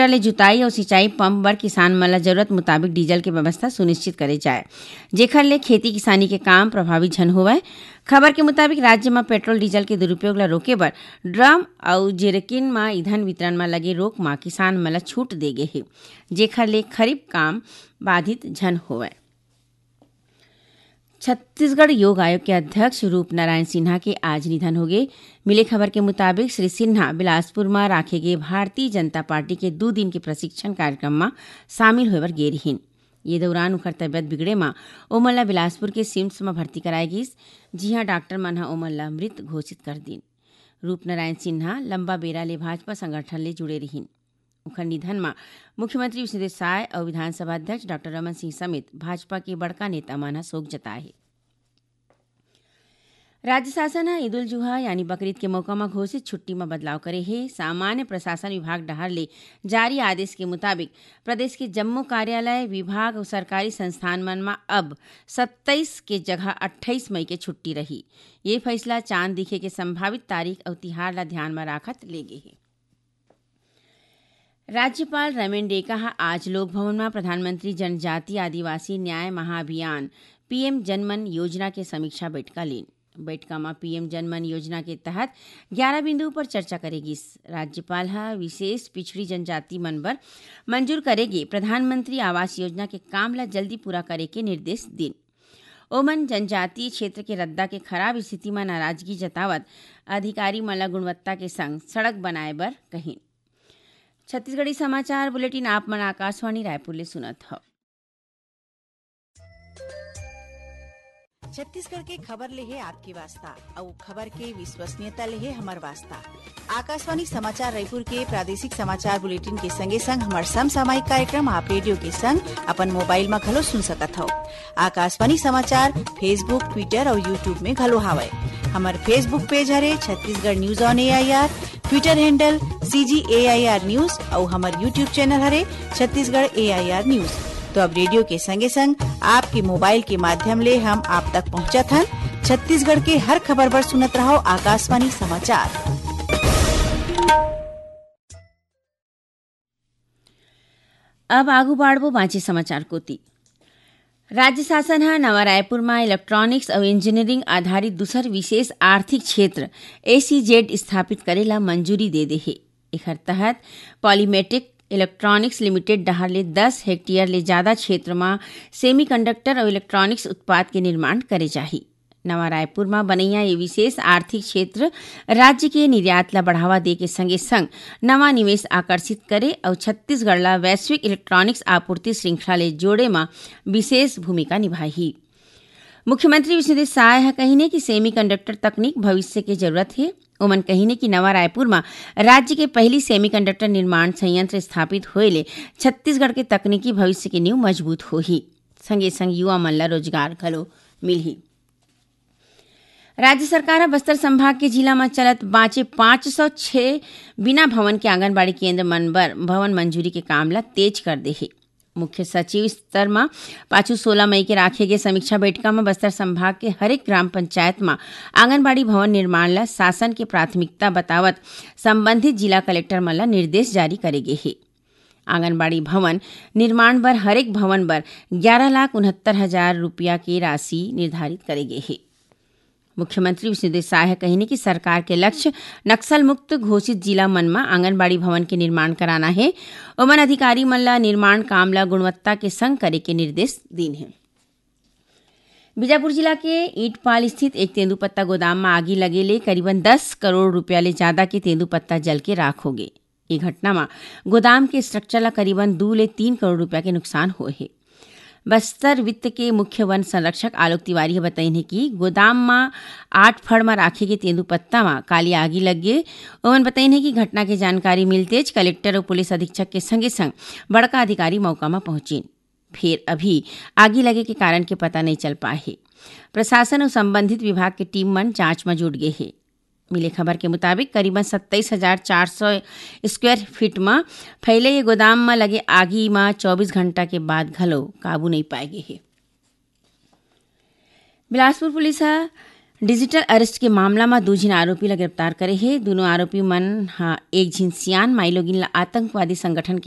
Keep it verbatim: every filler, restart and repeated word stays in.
Tractor ले जुताई अउ सिंचाई पंप बर किसान मन ल जरूरत मुताबिक डीजल के व्यवस्था सुनिश्चित करे जाए, जेखर ले खेती किसानी के काम प्रभावित झन होवय। खबर के मुताबिक, राज्य म पेट्रोल डीजल के दुरुपयोग ल रोके बर ड्रम अउ जेरेकिन म ईंधन वितरण म लगे रोक म किसान मन ल छूट दे गे हे, जेखर ले खरीफ काम बाधित झन होवय। छत्तीसगढ़ योग आयोग के अध्यक्ष रूप नारायण सिन्हा के आज निधन होगे। मिले खबर के मुताबिक, श्री सिन्हा बिलासपुर म राखे गे भारतीय जनता पार्टी के दू दिन के प्रशिक्षण कार्यक्रम म शामिल होय बर गे रिहीन। ये दौरान उखर तबियत बिगड़े म ओमन ल बिलासपुर के सिम्स म भर्ती कराए गिस, जिहां डॉक्टर मन ह ओमन ल मृत घोषित कर दीन। रूपनारायण सिन्हा लंबा बेरा ले भाजपा संगठन ले जुड़े रिहीन। उखर निधन म मुख्यमंत्री विष्णुदेव साय अउ विधानसभा अध्यक्ष डॉक्टर रमन सिंह समेत भाजपा के बड़का नेता मन ह शोक जताए हे। राज्य शासन ह ईद उल जुहा यानी बकरीद के मौका म घोषित छुट्टी म बदलाव करे हे। सामान्य प्रशासन विभाग डहार ले जारी आदेश के मुताबिक, प्रदेश के जम्मो कार्यालय, विभाग अउ सरकारी संस्थान मन म अब सत्ताईस के जगह अट्ठाईस मई के छुट्टी रही। ये फैसला चांद दिखे के संभावित तारीख अउ तिहार ल ध्यान म राखत ले गे हे। राज्यपाल रमेन डेका ह आज लोक भवन म प्रधानमंत्री जनजाति आदिवासी न्याय महाअभियान, पीएम जनमन योजना के समीक्षा बैठका लीन। बैठका म पीएम जनमन योजना के तहत ग्यारह बिंदु पर चर्चा करे गिस। राज्यपाल ह विशेष पिछड़ी जनजाति मन बर मंजूर करे गे प्रधानमंत्री आवास योजना के काम ल जल्दी पूरा करे के निर्देश दीन। ओमन जनजातीय क्षेत्र के रद्दा के खराब स्थिति म नाराजगी जतावत अधिकारी मन ल गुणवत्ता के संग सड़क बनाए बर कहिन। छत्तीसगढ़ी समाचार बुलेटिन आप मन आकाशवाणी रायपुर ले सुनत हव। छत्तीसगढ़ के खबर ले हे आपके वास्ता, अउ खबर के विश्वसनीयता ले हे हमर वास्ता। आकाशवाणी समाचार रायपुर के प्रादेशिक समाचार बुलेटिन के संगे संग हमर समसामयिक कार्यक्रम आप रेडियो के संग अपन मोबाइल म घलो सुन सकत हव। आकाशवाणी समाचार Facebook, Twitter अउ YouTube में घलो हावय। हमर Facebook पेज हरे Chhattisgarh news on AIR, Twitter handle CG AIR news अउ हमर YouTube चैनल हरे छत्तीसगढ़ एआईआर न्यूज। तो अब रेडियो के संगे संग आपके मोबाइल के माध्यम ले हम आप तक पहुंचत हन। छत्तीसगढ़ के हर खबर बर सुनत रहव आकाशवाणी समाचार। अब आगू बाढ़बो बांचे समाचार कोति। राज्य शासन ह नवा रायपुर म इलेक्ट्रॉनिक्स अउ इंजीनियरिंग आधारित दूसर विशेष आर्थिक क्षेत्र, एसीजेड, स्थापित करे ला मंजूरी दे दे हे। एखर तहत पॉलीमेटिक इलेक्ट्रॉनिक्स लिमिटेड डहार ले दस हेक्टेयर ले जादा क्षेत्र म सेमीकंडक्टर अउ इलेक्ट्रॉनिक्स उत्पाद के निर्माण करे जाही। नवा रायपुर म बनइया ये विशेष आर्थिक क्षेत्र राज्य के निर्यात ल बढ़ावा दे के संगे संग नवा निवेश आकर्षित करे अउ छत्तीसगढ़ ल वैश्विक इलेक्ट्रॉनिक्स आपूर्ति श्रृंखला ले जोड़े म विशेष भूमिका निभाही। मुख्यमंत्री विष्णुदेव साय ह कहिन हे कि सेमीकंडक्टर तकनीक भविष्य के जरूरत हे। ओमन कहिन हे कि नवा रायपुर म राज्य के पहिली सेमीकंडक्टर निर्माण संयंत्र स्थापित होए ले छत्तीसगढ़ के तकनीकी भविष्य के नींव मजबूत होही, संगे संग युवा मन ल रोजगार घलो मिलही। राज्य सरकार ह बस्तर संभाग के जिला म चलत बांचे पाँच सौ छह बिना भवन के आंगनबाड़ी केंद्र मन बर भवन मंजूरी के काम ल तेज कर दे हे। मुख्य सचिव स्तर म पाछू सोलह मई के राखे गे समीक्षा बैठका म बस्तर संभाग के हरेक ग्राम पंचायत म आंगनबाड़ी भवन निर्माण ल शासन के प्राथमिकता बतावत संबंधित जिला कलेक्टर मन ल निर्देश जारी करे गे हे। आंगनबाड़ी भवन निर्माण बर हरेक भवन बर ग्यारह लाख उनहत्तर हजार रुपया के राशि निर्धारित करे गे हे। मुख्यमंत्री विष्णुदेव साय ह कहिन हे कि सरकार के लक्ष्य नक्सल मुक्त घोषित जिला मन म आंगनबाड़ी भवन के निर्माण कराना हे। ओमन अधिकारी मन ल निर्माण काम ल गुणवत्ता के संग करे के निर्देश दीन हे। बीजापुर जिला के ईंटपाल स्थित एक तेंदूपत्ता गोदाम म आगी लगे ले करीबन दस करोड़ रुपया ले जादा के तेंदूपत्ता जल के राख होगे। ये घटना म गोदाम के स्ट्रक्चर ल करीबन दू ले तीन करोड़ रुपया के नुकसान होए हे। बस्तर वित्त के मुख्य वन संरक्षक आलोक तिवारी ह बतइन हे कि गोदाम म आठ फड़ म राखे गे तेंदूपत्ता म काली आगी लग गे। ओमन बतइन हे कि घटना के जानकारी मिलतेच कलेक्टर अउ पुलिस अधीक्षक के संगे संग बड़का अधिकारी मौका म पहुंचिन। फेर अभी आगी लगे के कारण के पता नइ चल पाए हे। प्रशासन अउ संबंधित विभाग के टीम मन जांच म जुट गे हे। मिले खबर के मुताबिक, करीबन सत्ताईस हजार चार सौ स्क्वायर फीट म फैले ये गोदाम म लगे आगी म चौबीस घंटा के बाद घलो काबू नइ पाए गे हे। बिलासपुर पुलिस ह डिजिटल अरेस्ट के मामला म दू झिन आरोपी ल गिरफ्तार करे हे। दूनों आरोपी मन ह एक झिन सियान माईलोगिन ल आतंकवादी संगठन के